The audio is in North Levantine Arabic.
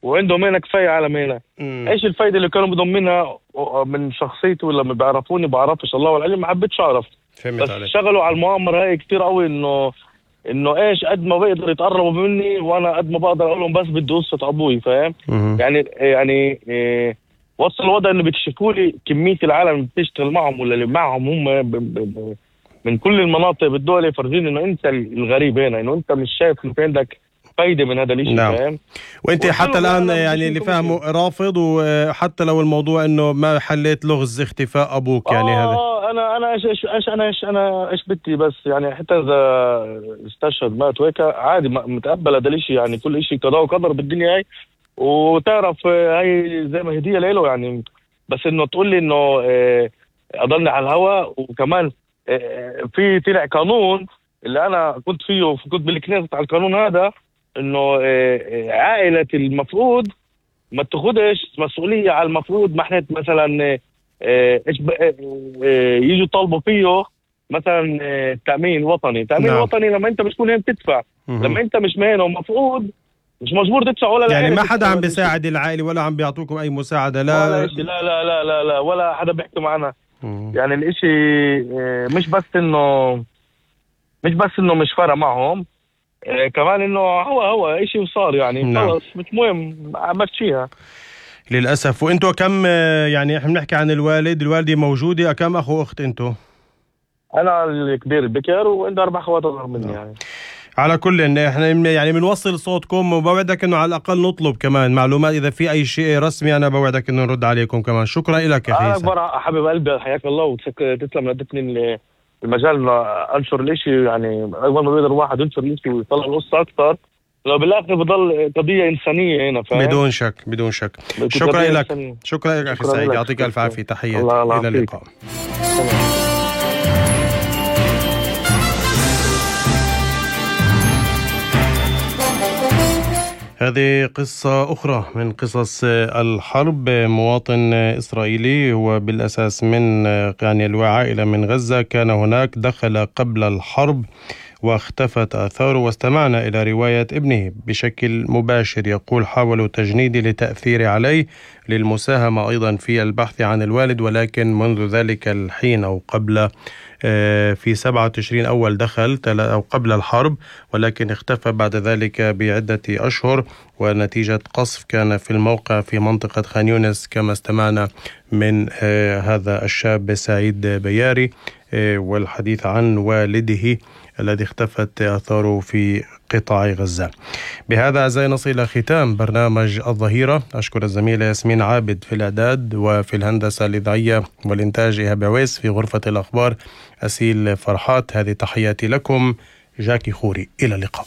وعندهم هنا كفاية على هنا. ايش الفايدة اللي كانوا بدهم منها من شخصيتي ولا ما بيعرفوني؟ بعرفش، الله العلم، ما حبيتش اعرف. بس شغلوا على المؤامرة هاي كتير قوي، انه ايش قد ما بيقدر يتقربوا مني وانا قد ما بقدر اقول لهم بس بدي قصة ابوي، فاهم؟ يعني وصل الوضع انه بيكشفوا لي كمية العالم اللي بتشتغل معهم ولا اللي معهم هم من كل المناطق بالدول، يفرجين انه انت الغريب هنا، انه انت مش شايف انه في عندك فايدة من هذا الاشي. نعم. فاهم؟ وانت حتى الان يعني اللي فاهمه رافض، وحتى لو الموضوع انه ما حليت لغز اختفاء ابوك يعني هذا. انا ايش بدي، بس يعني حتى اذا استشهد مات وهيك عادي، متقبل هذا الاشي، يعني كل اشي قضاء وقدر بالدنيا هاي، وتعرف هاي زي ما هدية له يعني. بس انه تقول لي انه اضلني على الهواء، وكمان في طلع قانون اللي انا كنت فيه وكنت بالكنيسة على القانون هذا، انه عائلة المفروض ما تاخدش مسؤولية على المفروض محنة مثلا يجوا يطالبوا فيه مثلا تأمين وطني. تأمين نعم. وطني لما انت بتكون هين تدفع، لما انت مش مهنة ومفروض مش مجبور تدفع ولا يعني ما حدا عم بيساعد العائلة ولا عم بيعطوكم اي مساعدة؟ لا ولا شيء، لا لا لا لا لا، ولا حدا بيحكي معنا. يعني الاشي مش بس انه مش فارق معهم، كمان انه هو اشي وصار يعني. نعم. خلص مش مهم، مشيها للأسف. وانتوا كم يعني احنا بنحكي عن الوالدة موجودة، كم اخو اخت انتوا؟ انا الكبير البكر وعندي 4 اخوات اصغر مني يعني. على كل ان احنا يعني بنوصل صوتكم، وبوعدك انه على الاقل نطلب كمان معلومات اذا في اي شيء رسمي. انا بوعدك انه نرد عليكم كمان. شكرا لك يا اخي. اكبر حبيب قلبي، حياك الله، وتسلم ادتني المجال انه انشر الاشي. يعني اول ما بيقدر الواحد ينشر الاشي ويطلع القصه اكثر، لو بالاخر بضل قضيه انسانيه هنا، فاهم؟ بدون شك بدون شك. شكرا لك، شكرا لك اخي سعيد، يعطيك الف عافيه. تحياتي، الى اللقاء. هذه قصة أخرى من قصص الحرب. مواطن إسرائيلي هو بالأساس من يعني العائلة من غزة، كان هناك، دخل قبل الحرب واختفت آثاره. واستمعنا إلى رواية ابنه بشكل مباشر، يقول: حاولوا تجنيدي لتأثير عليه للمساهمة أيضا في البحث عن الوالد، ولكن منذ ذلك الحين أو قبل في 7 تشرين أول دخل أو قبل الحرب، ولكن اختفى بعد ذلك بعدة أشهر، ونتيجة قصف كان في الموقع في منطقة خان يونس كما استمعنا من هذا الشاب سعيد بياري، والحديث عن والده الذي اختفت آثاره في قطاع غزة. بهذا أعزائي نصل إلى ختام برنامج الظهيرة. أشكر الزميلة ياسمين عابد في الإعداد، وفي الهندسة الإذاعية والإنتاج إيهاب عويس، في غرفة الأخبار أسيل فرحات. هذه تحياتي لكم، جاكي خوري، إلى اللقاء.